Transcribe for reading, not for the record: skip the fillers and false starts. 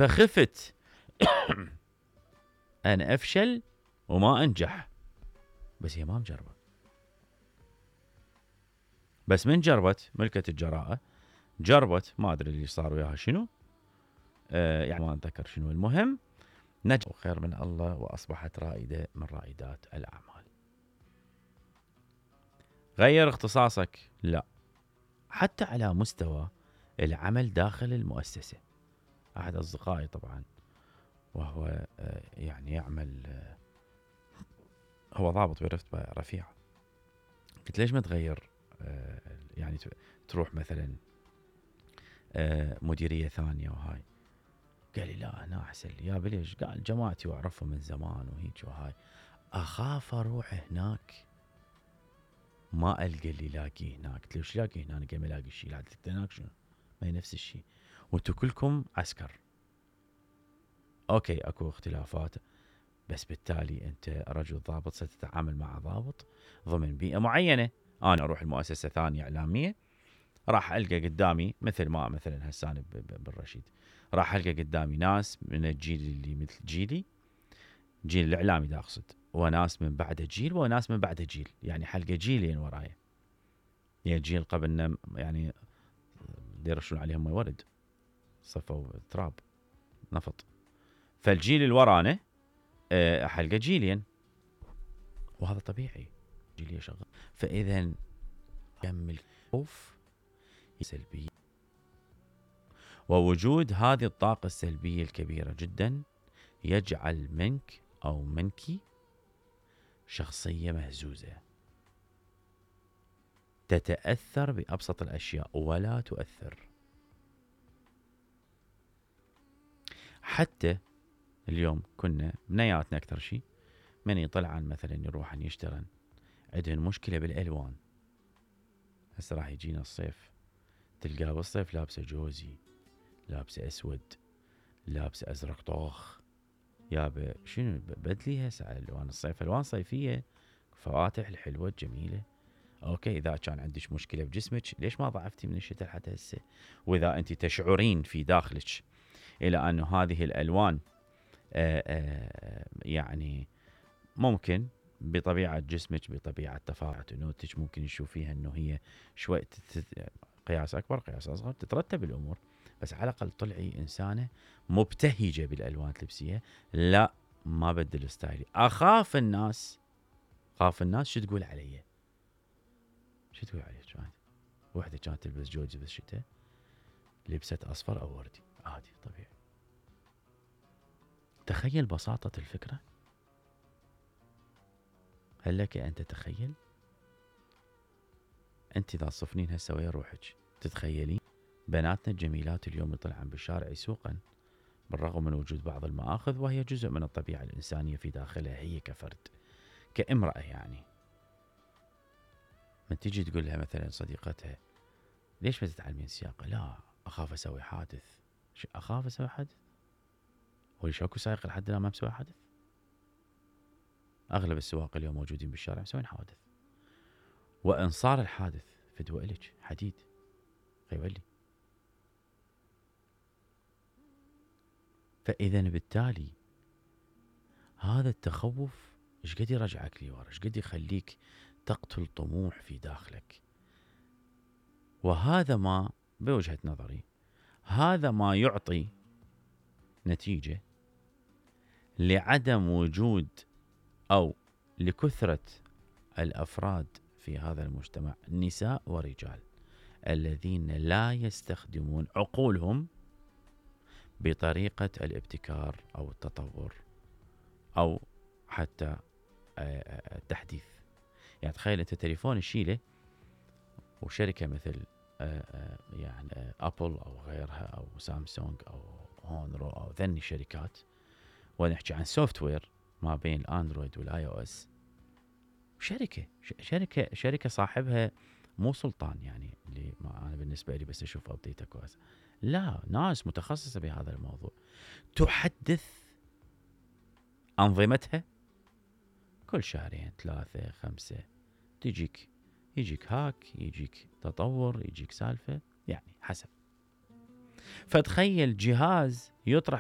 فخفت أن أفشل وما أنجح، بس هي ما مجربة. بس من جربت ملكة الجراءة، جربت ما أدري اللي صار وياها شنو، يعني ما أتذكر شنو، المهم نجح خير من الله وأصبحت رائدة من رائدات الأعمال. غير اختصاصك؟ لا، حتى على مستوى العمل داخل المؤسسة. أحد أصدقائي طبعا وهو يعني يعمل، هو ضابط برتبة رفيعة، قلت ليش ما تغير يعني تروح مثلا مديرية ثانية وهاي؟ قال لي لا أنا أحسن لي. يا بليش؟ قال جماعتي وأعرفهم من زمان وهيك وهاي، أخاف أروح هناك ما ألقى اللي لاقيه هناك. قلت له وش لاقي هنا؟ أنا قاعد ما لاقي شيء. لا هناك شنو؟ ما هي نفس الشيء، وانتو كلكم عسكر. أوكي أكو اختلافات، بس بالتالي أنت رجل ضابط ستتعامل مع ضابط ضمن بيئة معينة. أنا أروح المؤسسة ثانية إعلامية، راح ألقى قدامي مثل ما مثلا هسان بالرشيد، راح ألقى قدامي ناس من الجيل اللي مثل جيلي، جيل الإعلامي دا أقصد، وناس من بعد جيل وناس من بعد جيل، يعني حلقة جيلين ورايا. يعني جيل قبلنا يعني يرشون عليهم ما ورد، صفوا تراب نفط، فالجيل اللي ورانا حلقة جيلين، وهذا طبيعي، جيلية شغال. فإذا كمل خوف سلبية، ووجود هذه الطاقة السلبية الكبيرة جدا يجعل منك أو منك شخصية مهزوزة، تتأثر بأبسط الأشياء ولا تؤثر. حتى اليوم كنا بنياتنا أكثر شيء من يطلعن مثلا يروحن يشترن، عندهن مشكلة بالألوان. هسه راح يجينا الصيف، تلقاه بالصيف لابسه جوزي، لابسه أسود، لابسه أزرق طوخ، يابا شنو بدلي هسه على ألوان الصيف، ألوان صيفية فواتح الحلوة الجميلة. أوكي إذا كان عندك مشكلة بجسمك ليش ما ضعفتي من الشتاء لحد هسه؟ وإذا أنت تشعرين في داخلك إلى أن هذه الألوان يعني ممكن بطبيعة جسمك بطبيعة تفاعل أنوثتك ممكن تشوفيها أنه هي شوي قياس أكبر قياس أصغر، تترتب الأمور، بس على الأقل طلعي إنسانة مبتهجة بالألوان اللبسية. لا ما بدل ستايلي، أخاف الناس شو تقول علي، شو تقول علي. وحدة كانت تلبس جوزي بالشتاء لبست أصفر أو وردي عادي طبيعي. تخيل بساطة الفكرة، هل لك أن تتخيل؟ أنت إذا تصفنين هسه ويا روحك تتخيلين بناتنا الجميلات اليوم يطلعن بالشارع يسوقن بالرغم من وجود بعض المآخذ، وهي جزء من الطبيعة الإنسانية في داخلها هي كفرد كامرأة. يعني من تيجي تقول لها مثلا صديقتها ليش ما تتعلمين سياقة؟ لا أخاف أسوي حادث. أخاف أسوي حادث؟ هو شاكو سائق لحد الآن ما مسوي حادث؟ أغلب السواق اليوم موجودين بالشارع مسوين حوادث، وإن صار الحادث فدوى إلك حديد يولي. فإذا بالتالي هذا التخوف ايش قد يرجعك لورا، ايش قد يخليك تقتل طموح في داخلك. وهذا ما بوجهة نظري هذا ما يعطي نتيجة لعدم وجود أو لكثرة الأفراد في هذا المجتمع، نساء ورجال، الذين لا يستخدمون عقولهم بطريقة الابتكار أو التطور أو حتى التحديث. يعني تخيل أنت تليفون الشيلة وشركة مثل يعني أبل أو غيرها أو سامسونج أو هونرو أو ذني الشركات، ونحكي عن سوفت وير ما بين الأندرويد والآي أو إس، شركة صاحبها مو سلطان، يعني اللي ما أنا بالنسبة لي بس أشوف أبديته كويس، لا ناس متخصصة بهذا الموضوع تحدث أنظمتها كل شهرين 3 5، يجيك هاك، يجيك تطور، يجيك سالفة، يعني حسب. فتخيل جهاز يطرح